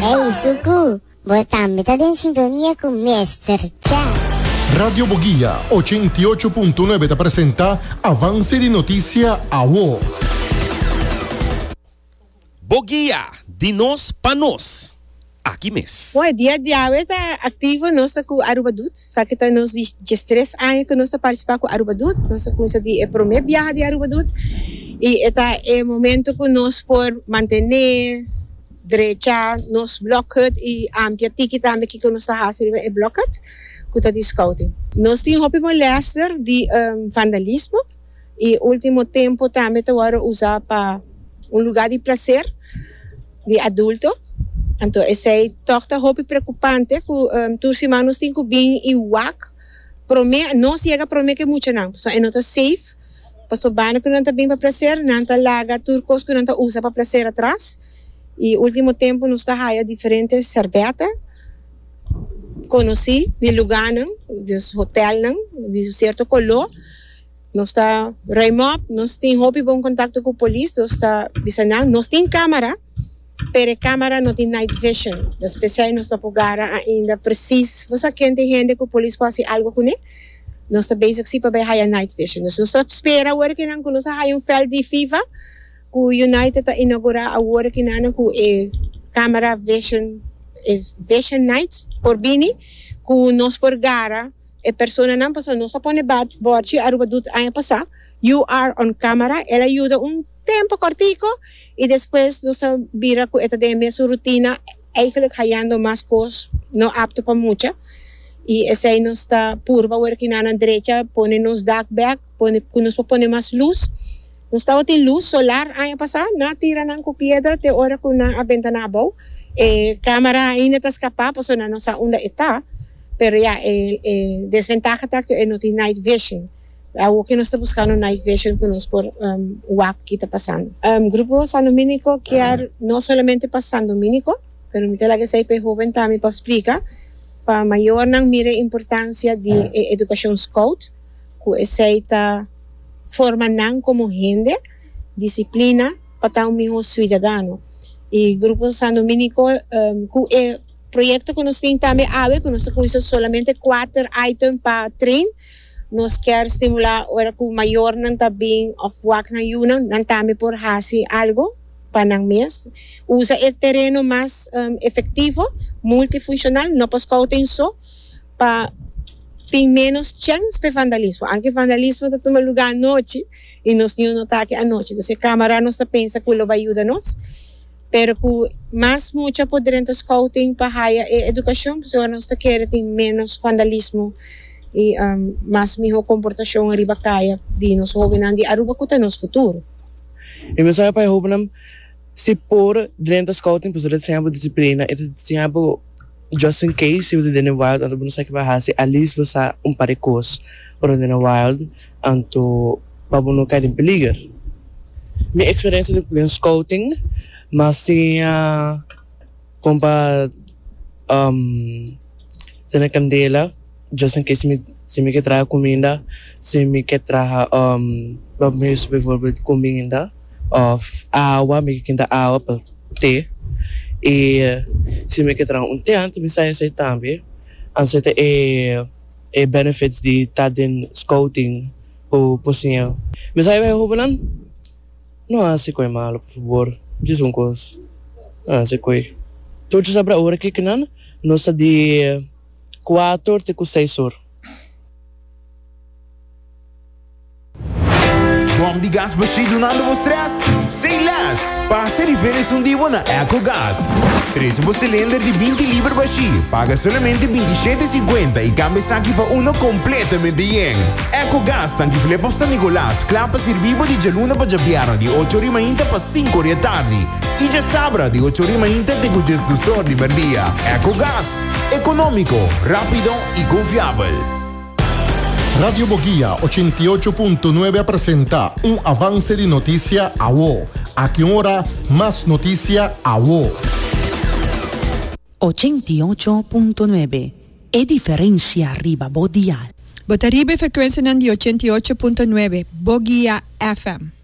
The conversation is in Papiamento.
Hey Suku, bo tambe ta den sintonia ku Mester Cha. Radio Boguia 88.9 ta presenta Avance di Noticia Awo. Boguia, di nos pa nos. Aki mes. Bon, e dia di awe ta activo, nos ta cu Aruba Doet. Esaki ta nos di diestres aña cu nos ta participa cu Aruba Doet. Nos a cuminsa di e prome biaha di Aruba Doet y e ta e momento cu nos por mantene, drecha nos blokhut y amplia tiki tambe kico nos ta haci riba e blokhut cu ta di scouting. Nos tin hopi molester di vandalismo. Y ultimo tempo tambe ta worde usa pa un lugar di placer di adulto. Anto esey toch ta hopi preocupante cu tur siman nos tin cu bin y wak prome, nos yega prome cu e muchanan pasobra e no ta safe pasobra banda cu nan ta bin pa placer nan ta laga tur cos cu nan ta usa pa placer atras. Y ultimo tempo nos ta haya diferente serbete conoci di lugarnan, dus hotelnan di cierto color. Nos ta ruim op, nos tin hopi bon contacto cu polis, nos ta bisa nan, nos tin camara, pero e camara no tin night vision, dus p'esei nos no por gara ainda precies, bo sa ken tin hende cu polis por haci algo cune, nos ta bezig si pa bay haya night vision. Dus nos ta spera awor kinan cu nos a haya un veld di FIFA cu United ta inaugura awor kinan cu e camara vision, e vision night por bini cu nos por gara. E personanan pasobra nos a pone borchi Aruba Doet aña pasá, You are on camera, el a yuda un tempo cortico y despues nos a bira cu e ta den e mesun rutina, eigenlijk hayando mas cos no apto pa mucha y esey nos ta purba awor ki nan a drecha pone nos dak bek, pone cu nos por pone mas luz. Nos tabatin luz solar aña pasá, nan a tira nan cu piedra te ora cu nan a benta nan abou. E camera ainda ta scapa pasobra nan no sa unda e ta. Pero ya, e e desventaha ta cu e no tin night vision. Awor cu nos ta buscando night vision cu nos por wak ki ta pasando. Grupo San Dominico kier no solamente pa San Dominico, pero mi ta laga esey pa e hoben tambe pa splica, pa mayornan mira e importancia di e educacion scout, cu esey ta forma nan como hende, disciplina pa ta un miho ciudadano. Y Grupo San Dominico cu e. Proyecto cu nos tin tambe awe cu nos ta cuminsa solamente cuater item pa train. Nos kier stimula ora cu mayornan ta bin of wak nan yunan, nan tambe por haci algo pa nan mes. Usa e tereno mas efectivo, multifuncional, no pa scouting so, pa tin menos chens p'e vandalismo. Aunke vandalismo ta tuma lugar anochi y nos niun no ta aki anochi. Entonces e camara nos ta pensa cu lo bay yuda nos. Pero cu mas mucha por drenta scouting pa haya e educacion, pasobra nos ta kere tin menos vandalismo y mas miho comportacion riba caya di nos hobennan di Aruba cu ta nos futuro. E mensahe pa e hobennan, si por drenta scouting pasobra e ta siña bo disciplina, e ta siña bo just in case si bo ta den e wild anto bo no sa ke bo a hasi, at least bo sa un par di cos ora bo den e wild anto pa bo no kai den peliger. Mi experiencia den scouting m'a siña con pa cende candela just in case si mi ke traha cuminda, si mi ke traha bijvoorbeeld cuminda of awa mi ke kinta awa pa te y si mi ke traha un te anto mi sa esey tambe anto ta e benefits di ta den scouting. Ku por siña. Mi sa e hobennan no hasi koe malo por fabor djis un kos no hasi koe tur djis abra ora ke kinan nos ta di kuater te ku seis or. Bom di gas bashí dunando bo stress? Say less! Pasa riba esun di bo na Ecogas. Trese bo cilinder di 20 liber bashí, paga solamente 27,50 y cambia esaki pa uno completamente yen. Ecogas tanki Flip of San Nicolas, kla pa sirbi bo di djaluna pa djabièrnè di ocho ori mainta pa sinku ori atardi y djasabra di ocho ori mainta te ku djesdus or di merdia. Ecogas, economico, rapido y confiabel. Radio Boguia 88.9 a presenta un avance di noticia awo. Aki un ora, mas noticia awo. 88.9 E diferencia riba bo dial. Bo ta riba e frecuencianan di 88.9 Boguia FM.